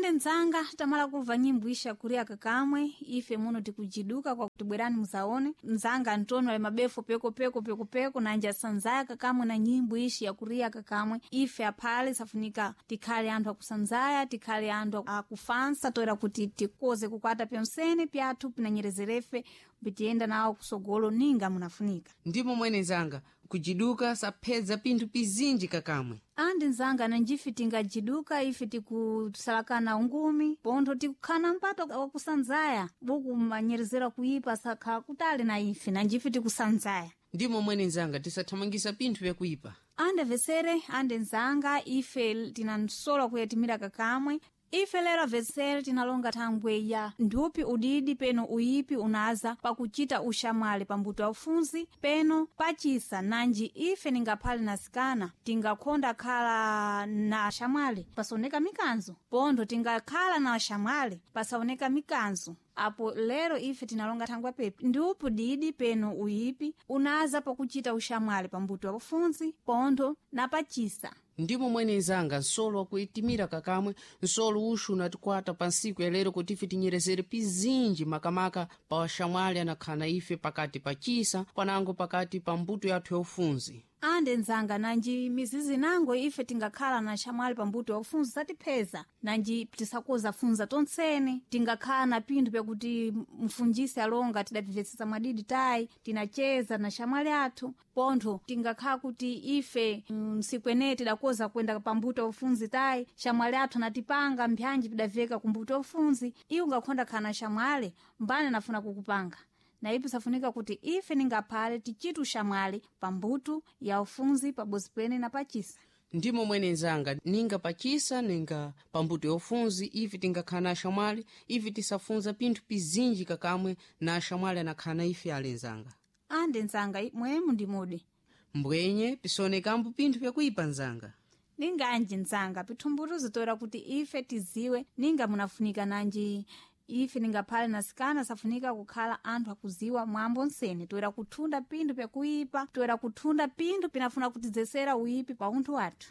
Ande nzanga tamala kuva nyimbo isha kuria kakamwe ife muno tikujiduka kwa kutibwerani muzaone nzanga Antonio ali mabefu peko peko peko peko nanja sanzaya kakamwe na nyimbo ishi ya kuria kakamwe ife aphale safunika tikhale anthu akusanzaya tikhale anthu akufansa toera kuti tikoze kukwata pyonsene pyathu pinanyerezerefe pitiyenda nawo kusogolo ninga munafunika. Ndimo mwene nzanga kujiduka saphedza pinthu pizinji kakamwe. Andi nzanga nanjife tingajiduka ife tikusalakana ungumi pontho tikukhana mpato wakusanzaya buku manyerezera kuipa sakhala kutali na ife nanjife tikusanzaya. Ndimo mwene nzanga tisathamangisa pinthu vyakuipa. Ande vesere ande nzanga ife tinansola kuyatimira kakamwe ife lero vesere tinalonga thangwe ya nthupi udidi peno uyipi unaza pakuchita uxamwali pambuto aufunzi peno pacisa nanji ife ningaphale nasikana tingakhonda khala na axamwali pasaoneka mikanzo pontho tingakhala na axamwali pasaoneka mikanzo. Apo lero ife tinalonga thangwe pepi ndiupi udidi peno uyipi unaza pakuchita uxamwali pambuto aufunzi pontho na pacisa. Ndimo mwene nzanga nsolo wakuitimira kakamwe nsolo uxu unatikwata pa ntsiku ya lero kuti ife tinyerezere pizinji makamaka pa waxamwali anakhala ife pakati pa cisa panango pakati pa mbuto yathu ya ufunzi. Ande nzanga nanji mizizi nango ife tingakhala na xamwali pambuto yakufunza satipheza nanji tisakoza funza tontsene tingakhala na pinthu pyakuti mfunjisi alonga tidapimvetsetsa mwadidi tayi tinacheza na xamwali athu pontho tingakhala kuti ife msiku eneyi tidakoza kuyenda pambuto ufunzi tayi xamwali athu anatipanga mbyanji pidaveka kumbuto ufunzi iwe ungakhonda khala na xamwali mbani anafuna kukupanga na ipi safunika kuti ife ningaphale tichite uxamwali pambuto ya ufunzi pabozi pene na pacisa. Ndimo mwene nzanga ninga pacisa ninga pambuto ya ufunzi ife tingakhala na axamwali ife tisafunza pinthu pizinji kakamwe na axamwali anakhala na ife ale nzanga. Ande nzanga mwemu ndimudi mbwenye pisonekambo pinthu pyakuipa nzanga. Ninganji nzanga pithumbutuzo toera kuti ife tiziwe ninga munafunika nanji ife ningaphale nasikana safunika kukhala anthu akuziwa mwambo nsene toera kuthunda pinthu pyakuipa toera kuthunda pinthu pinafuna kutidzesera uyipi pa unthu wathu.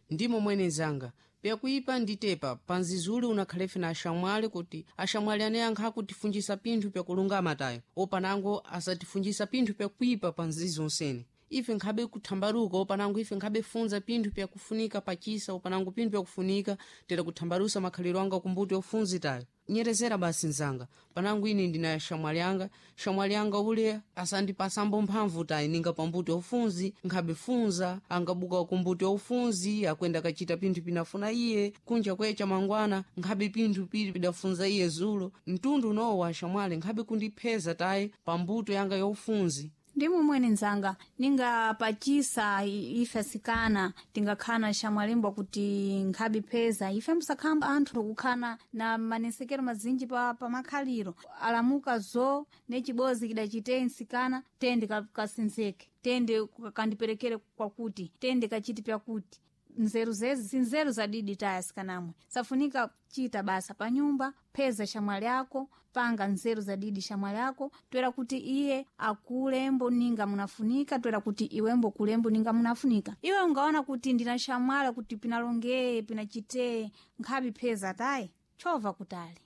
Ndimo mwene nzanga pyakuipa nditepa panzizuli unakhalefe na axamwali kuti axamwali anayankha akutifunjisa pinthu pyakulungama tayo opanango asatifunjisa pinthu pyakuipa panzizi onsene ife nkhabe kuthambaluka opanango ife nkhabe funza pinthu pyakufunika pachisa opanango pinthu pyakufunika tera kuthambalusa makhaliro anga kumbuto yofunzi tayo. Nyerezera basi nzanga panango ine ndina xamwali anga xamwali anga ule asandipasambo mphamvu tayi ninga pambuto yofunzi nkhabe funza angabuka kumbuto yofunzi akwenda kachita pinthu pinafuna iye kunja kwecha mangwana nkhabe pinthu pili pidafunza iye zulo mtundu unowo wa xamwali nkhabe kundipheza tayi pambuto yanga yofunzi. Ndimo mwene nzanga ningapachisa ife asikana tingakhala xamwalimbo kuti nkhabe pheza ife musakhala anthu kukhala na manesekero mazinji pa makhaliro alamuka zo necibozi kidacite nsikana tende kasinzeke tende kandiperekere kwakuti tende kachiti pyakuti nzeru zezi sinzeru zadidi taya sikanamwe safunika chita basa pa nyumba pheza xamwali ako panga nzeru zadidi xamwali ako toera kuti iye akulembo ninga munafunika toera kuti iwembo kulembo ninga munafunika iwe ungaona kuti ndina xamwali kuti pinalongeye pinachiteye nkhabi pheza tayi chova kutali.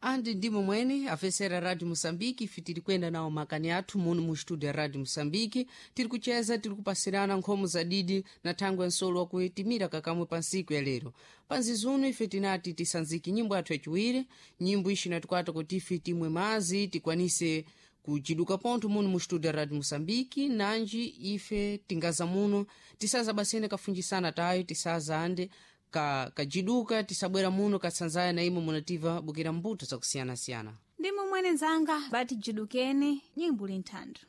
Andi ndimo mwene afesera Radio Moçambique ife tiri kuyenda nawo makani athu muno mu studio ya Radio Moçambique tiri kucheza tiri kupasirana nkhomo za didi na thangwe ya nsolo wakuitimira kakamwe pa ntsiku ya lero panzizuno ife tinati tisanzike nyimbo yathu yaciwiri nyimbo ixi inatikwata kuti ife timwe mazi tikwanise kuciduka pontho muno mu studio ya Radio Moçambique nanji ife tingaza muno tisaza basene kafunjisana tayo tisaza ande kajiduka tisabwera muno katsanzaya na imwe munativa bukira mbuto zakusiyanasiyana. Ndimo mwene nzanga bati jidukeni nyimbo linthando.